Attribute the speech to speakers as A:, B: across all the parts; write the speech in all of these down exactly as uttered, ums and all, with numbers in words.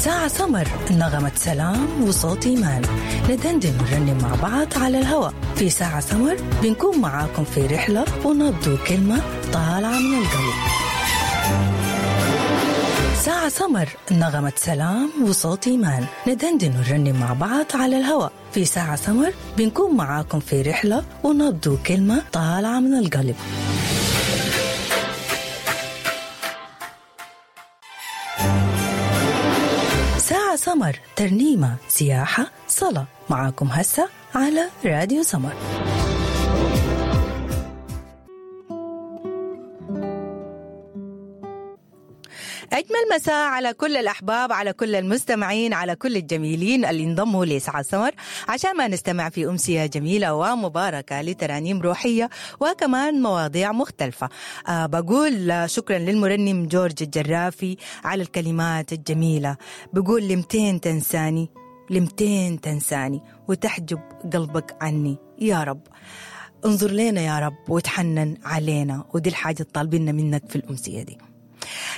A: ساعة سمر، نغمة سلام وصوت إيمان، ندندن ونرنم مع بعض على الهواء في ساعة سمر. بنكون معاكم في رحلة ونبض كلمة طالعة من القلب. ساعة سمر، نغمة سلام وصوت إيمان، ندندن ونرنم مع بعض على الهواء في ساعة سمر. بنكون معاكم في رحلة ونبض كلمة طالعة من القلب. ساعة سمر، ترنيمة، سياحة، صلاة، معاكم هسه على راديو سمر. أجمل مساء على كل الأحباب، على كل المستمعين، على كل الجميلين اللي انضموا لساعة سمر عشان ما نستمع في أمسية جميلة ومباركة لترانيم روحية وكمان مواضيع مختلفة. أه بقول شكرا للمرنم جورج الجرافي على الكلمات الجميلة. بقول لمتين تنساني، لمتين تنساني وتحجب قلبك عني يا رب. انظر لنا يا رب وتحنن علينا، ودي الحاجة الطالبيننا منك في الأمسية دي.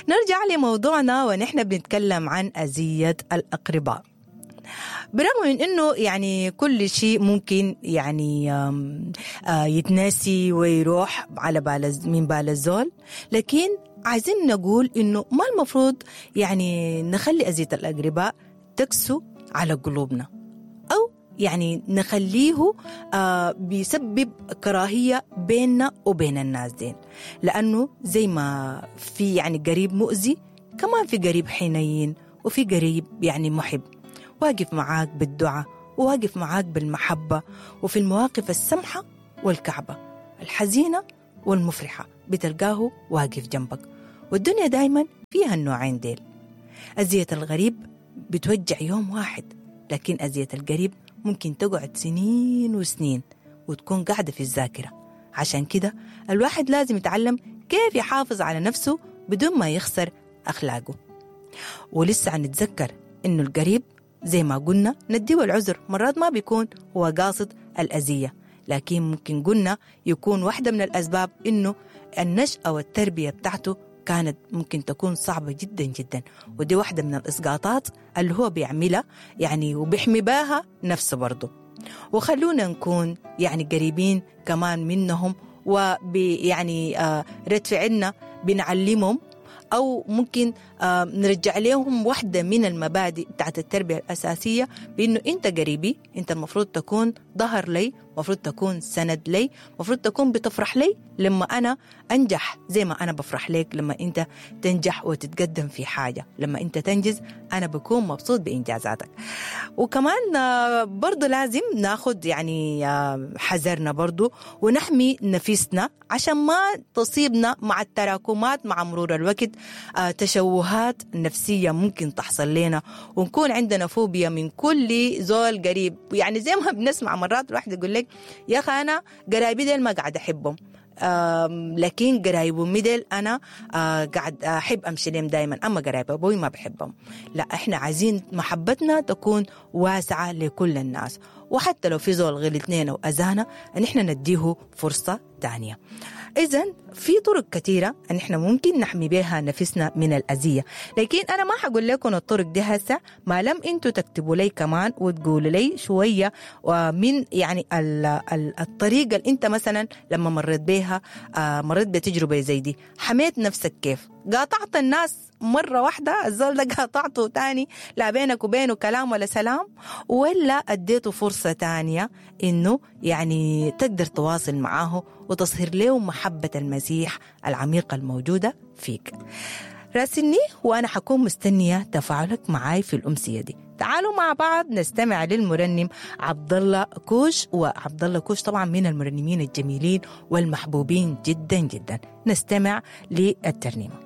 A: نرجع لموضوعنا ونحن بنتكلم عن أذية الأقرباء. برغم من أنه يعني كل شيء ممكن يعني يتناسي ويروح على بال من بال الزول، لكن عايزين نقول أنه ما المفروض يعني نخلي أذية الأقرباء تكسو على قلوبنا، أو يعني نخليه آه بيسبب كراهية بيننا وبين الناس دين. لأنه زي ما في يعني قريب مؤذي، كمان في قريب حنين، وفي قريب يعني محب، واقف معاك بالدعاء، وواقف معاك بالمحبة، وفي المواقف السمحة والكعبة، الحزينة والمفرحة، بتلقاه واقف جنبك. والدنيا دايما فيها النوعين ديل. أذية الغريب بتوجع يوم واحد، لكن أذية القريب ممكن تقعد سنين وسنين وتكون قاعدة في الذاكرة. عشان كده الواحد لازم يتعلم كيف يحافظ على نفسه بدون ما يخسر أخلاقه. ولسه نتذكر إنه القريب زي ما قلنا نديه العذر، مرات ما بيكون هو قاصد الأذية، لكن ممكن قلنا يكون واحدة من الأسباب إنه النشأة والتربية بتاعته كانت ممكن تكون صعبة جدا جدا، ودي واحدة من الإسقاطات اللي هو بيعملها يعني وبيحمي بها نفسه برضه. وخلونا نكون يعني قريبين كمان منهم، وبي يعني آه رد فعلنا بنعلمهم، أو ممكن آه نرجع لهم واحدة من المبادئ بتاعت التربية الأساسية، بأنه أنت قريبي، أنت المفروض تكون ظهر لي، مفروض تكون سند لي، مفروض تكون بتفرح لي لما أنا أنجح زي ما أنا بفرح لك لما أنت تنجح وتتقدم في حاجة، لما أنت تنجز أنا بكون مبسوط بإنجازاتك. وكمان برضو لازم ناخد يعني حذرنا برضو ونحمي نفسنا عشان ما تصيبنا مع التراكمات مع مرور الوقت تشوهات نفسية ممكن تحصل لنا، ونكون عندنا فوبيا من كل زول قريب. يعني زي ما بنسمع مرات الواحد يقول لك يا أخي أنا قرايبي ديل ما قاعد أحبهم، لكن قرايب أمي ديل أنا قاعد أحب أمشي لهم دايما، أما قرايب أبوي ما بحبهم. لا، إحنا عايزين محبتنا تكون واسعة لكل الناس، وحتى لو في زول غلطنا وأذانا نحن نديه فرصة تانية. إذن في طرق كثيرة أن إحنا ممكن نحمي بها نفسنا من الأذية، لكن أنا ما حقول لكم الطرق دي هسه ما لم أنتوا تكتبوا لي كمان وتقولوا لي شوية من يعني الطريقة اللي أنت مثلا لما مريت بها، مريت بتجربة زي دي، حميت نفسك كيف؟ قاطعت الناس مرة واحدة، الزول ده قاطعته تاني لا بينك وبينه كلام ولا سلام، ولا أديته فرصة تانية إنه يعني تقدر تواصل معاه وتصهر له محبة المسيح العميقة الموجودة فيك؟ راسلني وأنا حكون مستنية تفاعلك معاي في الأمسية دي. تعالوا مع بعض نستمع للمرنم عبد الله كوش، وعبد الله كوش طبعا من المرنمين الجميلين والمحبوبين جدا جدا. نستمع للترنيمة.